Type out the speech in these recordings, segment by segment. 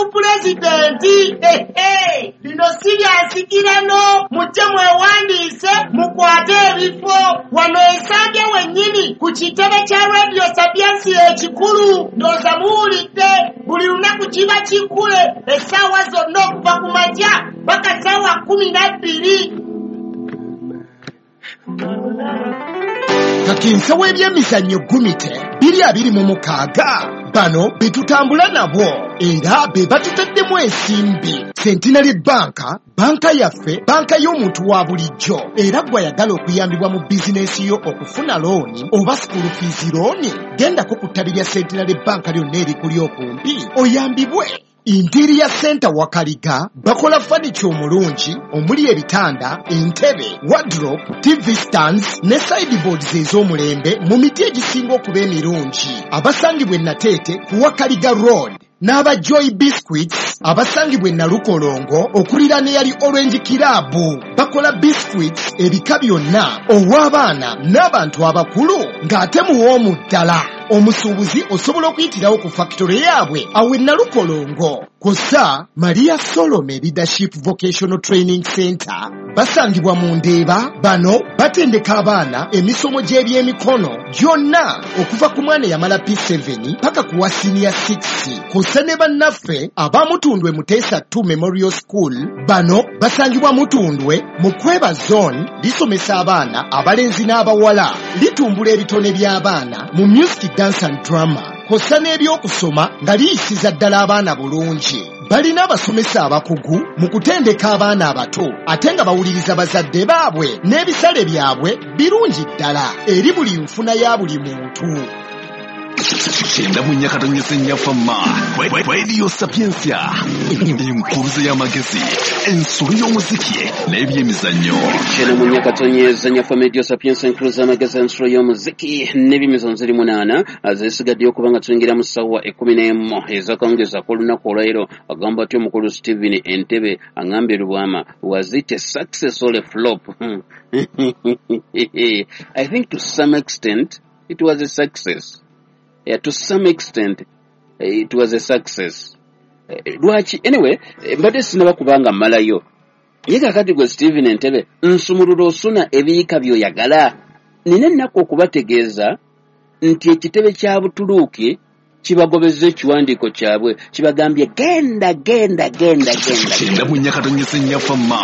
ku pulezidenti. Ehe, lino si lya nsikirano, mujje mwewandiise mukwate ebifo wano Ensambya wennyini ku kitebe kya Radio Sapientia ekikulu. Ndowooza muwulidde, buli lunaku kiba kikule essaawa zonna okuva ku makya paka ssaawa 12. Kakinsa w'ebyemizannyo Gumite 2026 bano be tutambula nabo era be batutaddemu ensimbi. Centenary Bank, banka yaffe, banka y'omuntu wa bulijjo, era gw'ayagala okuyambibwa mu bizinensi yo okufuna looni oba school fees looni, gendako ku ttabi lya Centenary Bank lyonna erikuli okumpi oyambibwe. Interior Center Wakaliga bakola furniture omulungi omuli ebitanda, entebe, wardrobe, TV stands ne sideboards ez'omulembe mu miti egisinga okuba emirungi. Abasangibwa e Nateete ku Wakaliga Road n'aba Joy Biscuits abasangibwa e Nalukolongo okuliraana eyali Orange Club bakola biscuits ebika byonna ow'abaana n'abantu abakulu ng'ate muwoomu ddala. Omusuubuzi osobola okuyitirawo ku factory yaabwe awo e Nalukolongo. Kw'ossa Maria Solome Leadership Vocational Training Center basangibwa mu Ndeeba. Bano batendeka abaana emisomo gy'ebyemikono gyonna okuva ku mwana eyamala P7 paka ku wa senior 6. Kw'ossa ne bannaffe aba Mutundwe Muteesa 2 Memorial School, bano basangibwa Mutundwe mu Kweba Zone, lisomesa abaana abalenzi n'abawala, litumbula ebitone by'abaana mu music, dance and drama, kw'ossa n'ebyokusoma nga liyisiza ddala abaana bulungi. Balina abasomesa abakugu mu kutendeka abaana abato ate nga bawuliriza bazadde baabwe, n'ebisale byabwe birungi ddala eri buli nfuna ya buli muntu. 94.4 Fama Radio Sapientia, enkuluze y'amagezi, ensolo y'omuziki n'ebyemizannyo. 94.4 Fama Radio Sapientia, enkuluze y'amagezi, ensolo y'omuziki n'ebyemizannyo. Ziri 8 zisigaddeyo okuba nga tuyingira mu ssaawa 11 ez'akawungeezi ak'olunaku olwaleero. Agamba atya omukulu Stephen Entebe? Aŋambye, "Lubwama, was it a success or a flop?" I think to some extent it was a success. Yeah, to some extent it was a success. Lwaki? Anyway, mbadde sinaba kubanga mmalayo ye. Kakati gwe Stephen Entebe, nsumulula osuna ebiyiika by'oyagala. Nina ennaku okubategeeza nti ekitebe kya Butuluuki kibagobezza ekiwandiiko kyabwe, kibagambye, "Genda, genda, genda, genda." 94.4 Fama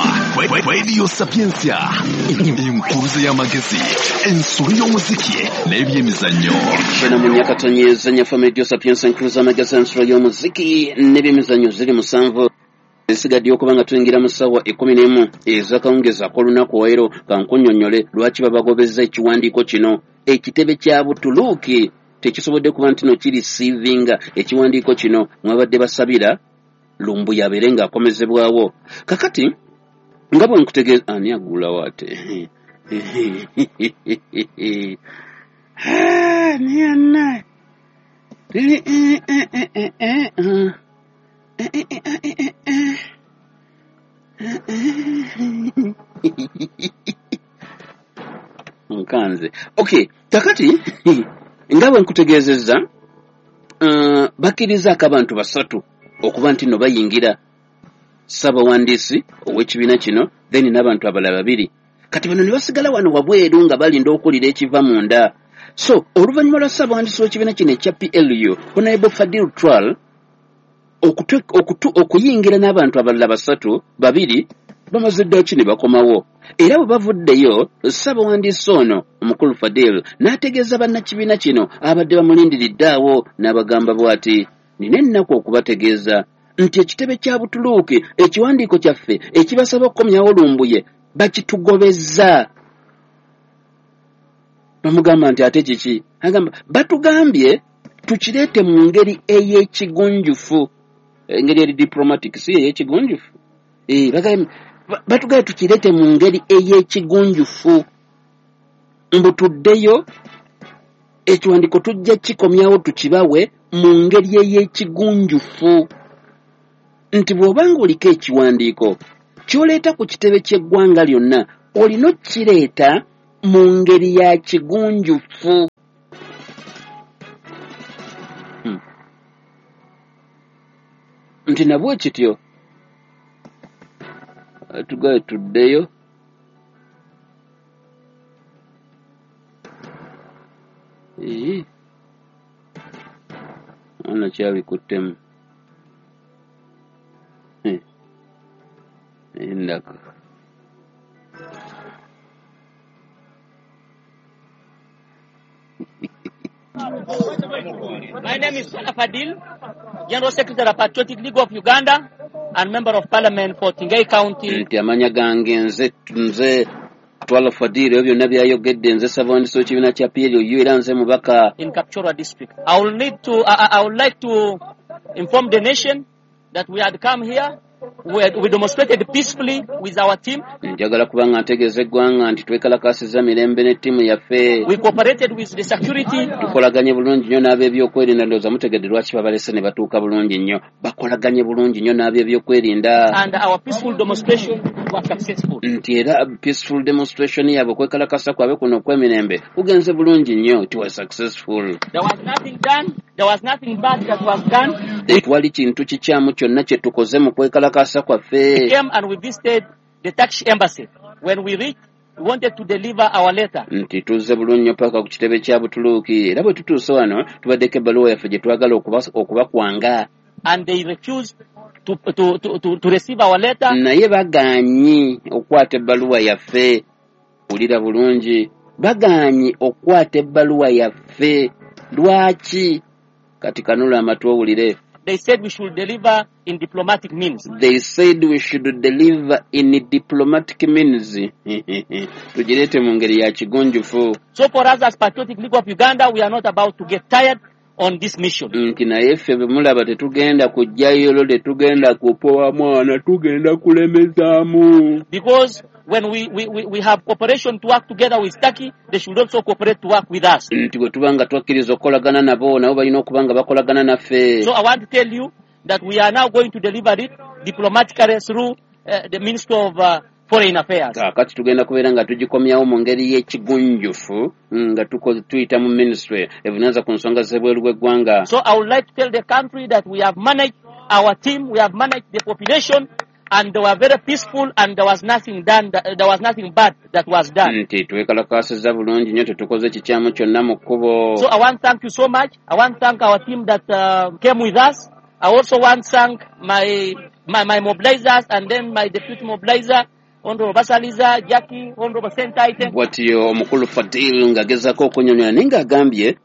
Radio Sapientia, enkuluze y'amagezi, ensolo y'omuziki n'ebyemizannyo. 94.4 Fama Radio Sapientia, enkuluze y'amagezi, ensolo y'omuziki n'ebyemizannyo. Ziri 7 esigaddeyo okuba nga tuyingira mu ssaawa 11 ez'akawungeezi ak'olunaku olwaleero. Kankunnyonnyole lwaki babagobezza ekiwandiiko kino. Ekitebe kya Butuluuki tekisobodde kuba nti no kireceivinga ekiwandiiko kino mwabadde basabira Lumbuye abeere ng'akomezebwawo. Kakati nga bwe nkutegeeza, ani agulawo ate? Ah, ni ana. Eh, eh, eh, eh, eh, eh, ah. Eh, eh, eh, eh, eh, eh. Eh, eh. Nkanze. Okay, kakati nga bwe nkutegeezezza, bakkirizaako abantu basatu okuba nti nno bayingira: ssabawandiisi ow'ekibiina kino, then n'abantu abalala babiri. Kati bano ne basigala wano wabweru nga balinda okuwulira ekiva munda. So oluvannyuma lwa ssabawandiisi w'ekibiina kino ekya PLU, Honorable Fadil Twal, okuyingira n'abantu abalala basatu, babiri bamaze ddaaki ne bakomawo. Era bwe bavuddeyo, ssabawandiisi ono omukulu Fadil n'ategeeza bannakibiina kino abadde bamulindiridde awo, n'abagamba bw'ati, "Nina ennaku okubategeeza nti ekitebe kya Butuluuki ekiwandiiko kyaffe ekibasaba okukomyawo Lumbuye bakitugobezza." Bamugamba nti, "Ate kiki?" Agamba, "Batugambye tukireete mu ngeri ey'ekigunjufu." Engeri eri diplomatic, si ey'ekigunjufu. Batugambye tukireete mu ngeri ey'ekigunjufu, mbu tuddeyo ekiwandiiko tujja kikomyawo tukibawe mu ngeri ey'ekigunjufu, nti bw'obanga oliko ekiwandiiko ky'oleeta ku kitebe ky'eggwanga lyonna, olina okkireeta mu ngeri ya kigunjufu. Nti nabwe kityo tugaye tuddeyo. Ono kyabikuttemu endaka. My name is Salah Fadil, General Secretary of Patriotic League of Uganda and Member of Parliament for Tingay County. Nti amanya gange nze Twala Fadil, ebyo byonna byayogedde, nze Ssabawandiisi w'ekibiina kya PLU era nze mubaka in Kapchorwa District. I would like to inform the nation that we had come here. We demonstrated peacefully with our team. Njagala kubanga ntegeeza eggwanga nti twekalakaasizza mirembe ne ttiimu yaffe. We cooperated with the security. Tukolaganye bulungi nnyo n'ab'ebyokwerinda. Ndowooza mutegedde lwaki babalese ne batuuka bulungi nnyo. Bakolaganye bulungi nnyo n'ab'ebyokwerinda. And our peaceful demonstration was successful. Nti era peaceful demonstration yaabwe, okwekalakasa kwabwe kuno okw'emirembe kugenze bulungi nnyo. It was successful. There was nothing done. There was nothing bad that was done. Tewali kintu kikyamu kyonna kye tukoze mu kwekalakasa kwaffe. We came and we visited the Turkish embassy. When we reached, we wanted to deliver our letter. Nti tuzze bulungi nnyo paka ku kitebe kya Butuluuki, era bwe tutuuse wano tubaddeko ebbaluwa yaffe gye twagala okubakwanga. And they refused to receive our letter. Naye bagaanyi okukwata ebbaluwa yaffe. Wulira bulungi, bagaanyi okukwata ebbaluwa yaffe. Lwaki? Kati kanula amatu owulire. They said we should deliver in diplomatic means. They said we should deliver in diplomatic means. Tugireete mu ngeri ya kigunjufu. So for us as Patriotic League of Uganda, we are not about to get tired on this mission. Nti naye ffe bwe mulaba tetugenda kujjayo, tetugenda kupowa mwana, tugenda kulemezaamu. Because when we have cooperation to work together with Turkey, they should also cooperate to work with us. Nti bwe tuba nga twakkiriza okukolagana nabo, nabo balina okuba nga bakolagana naffe. So I want to tell you that we are now going to deliver it diplomatically through the Minister of Foreign Affairs. Kaakati tugenda kubeera nga tugikomyawo mu ngeri y'ekigunjufu nga tuyita mu ministry evunaanyizibwa ku nsonga z'ebweru bw'eggwanga. So I would like to tell the country that we have managed our team, we have managed the population, and they were very peaceful, and there was nothing done, there was nothing bad that was done. Nti twekalakaasizza bulungi nnyo, tetukoze kikyamu kyonna mu kkubo. So I want to thank you so much. I want to thank our team that came with us. I also want to thank my mobilizers and then my deputy mobilizer, Honorable Basaliza, Jackie, Honorable Sentaite. Bw'atyo omukulu Fadil ng'agezaako okunnyonnyola, naye ng'agambye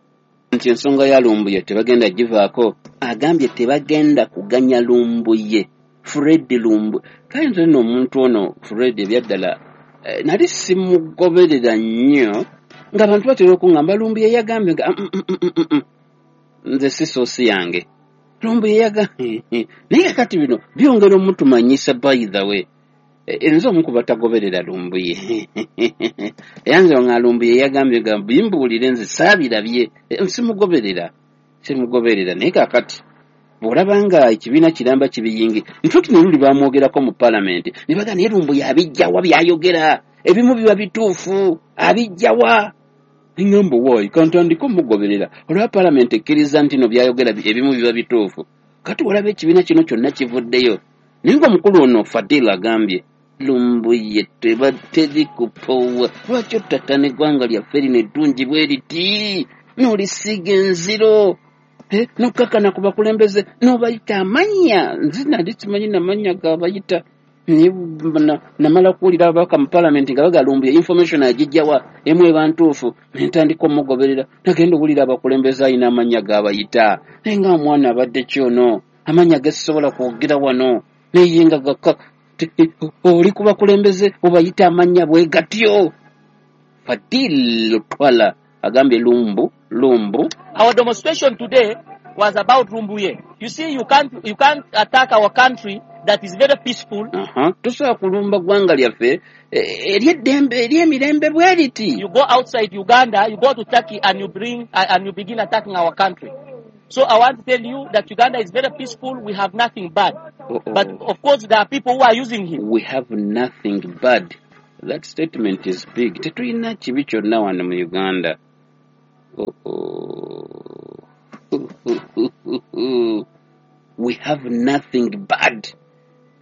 nti ensonga ya Lumbuye tebagenda givaako. Agambye tebagenda kuganya Lumbuye. Fred Lumbuye. Kale nze nno omuntu ono Fred ebyaddala nali simugoberera nnyo, ng'abantu batera okuŋŋamba Lumbuye yagambye nga nze si soosi yange. Lumbuye yagambye naye kakati bino byongera omutumanyisa. By the way, nze omu ku batagoberera Lumbuye. Era nze nga Lumbuye yagambye nga bimbuulire nze saabirabye, simugoberera. Naye kaakati bw'olaba nga ekibiina kiramba kibiyingi, ntuuti ne luli bamwogerako mu paalamenti ne bagamba naye Lumbuye abijjawa by'ayogera, ebimu biba bituufu, abijjawa. Eŋŋambo waayi kantandike omugoberera olwa paalamenti ekkiriza nti no by'ayogera ebimu biba bituufu. Kati olaba ekibiina kino kyonna kivuddeyo. Naye ng'omukulu ono Fadil agambye Lumbuye teri kupowa, lwaki ottattana eggwanga lyaffe lino eddungi bwe riti n'olisiiga enziro, n'okkakana ku bakulembeze n'obayita amannya. Nze nali simanyi namannya g'abayita, naye namala kuwulira ababaka mu paalamenti nga baga Lumbuye information agijjawa emu eba ntuufu, ne ntandika omugoberera. Nagenda owulira abakulembeze alina amannya g'abayita, naye nga omwana abadde ki ono, amannya ge sisobola kwogera wano, naye nga gakka oli ku bakulembeze obayita amannya bwe gatyo. Fadil Lutwala agambye Lumbu. Our demonstration today was about Lumbuye. You see, you can't attack our country that is very peaceful. Tosobola kulumba ggwanga lyaffe ery'eddembe ery'emirembe bwe riti. You go outside Uganda, you go to Turkey and you bring and you begin attacking our country. So I want to tell you that Uganda is very peaceful. We have nothing bad. But of course there are people who are using him. We have nothing bad. That statement is big. Tetulina kibi kyonna wano mu Uganda. We have nothing bad.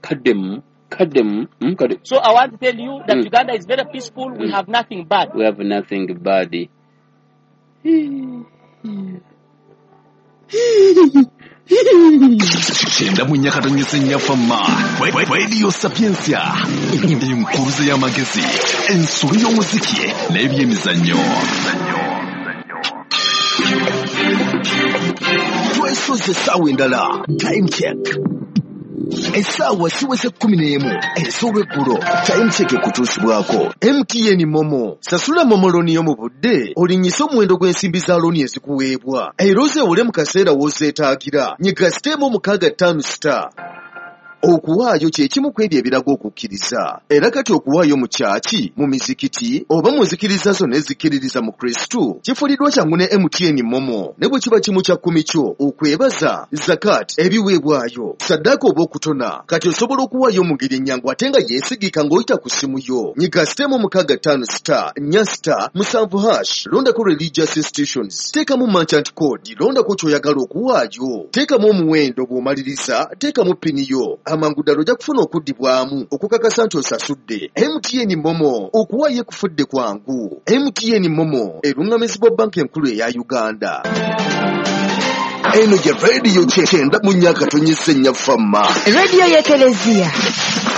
Kaddemu, kaddemu, kadde. So I want to tell you that Uganda is very peaceful. We have nothing bad. We have nothing bad. 94.4 Fama Radio Sapientia, enkuruze y'amagezi, ensolo y'omuziki n'ebyemizannyo. Twesoze essaawa endala. Time check. Essaawa ziweze 11 ez'olweggulo. Time check ekutuusibwako MTN Momo. Sasula Momo looni yo mu budde, olinnyise omuwendo gw'ensimbi za looni ezikuweebwa, era ozeewole mu kaseera w'ozeetaagira. Nyiga *656*. Okuwaayo kye kimu ku ebyo ebiraga okukkiriza. Era kati okuwaayo mu kyaki, mu mizikiti, oba mu nzikiriza zonna ezikkiririza mu Kristo, kifuliddwa kyangu ne MTN Momo. Ne bwe kiba kimu kya kkumi kyo, okwebaza, zakat, ebiweebwayo, saddaaka oba okutona, kati osobola okuwaayo mu ngeri ennyangu ate nga yeesigika ng'oyita ku ssimu yo. Nyiga *654*7 #, londako religious institutions, teekamu merchant code, londako ky'oyagala okuwaayo, teekamu omuwendo bw'omaliriza, teekamu pini yo. Amangu ddala ojja kufuna okuddibwamu okukakasa nti osasudde. MTN Momo, okuwaayo ekufudde kwangu. MTN Momo eruŋŋamizibwa Banka Enkulu eya Uganda. Eno ye Radio 94.4 Fama. Radio y'Ekelezia.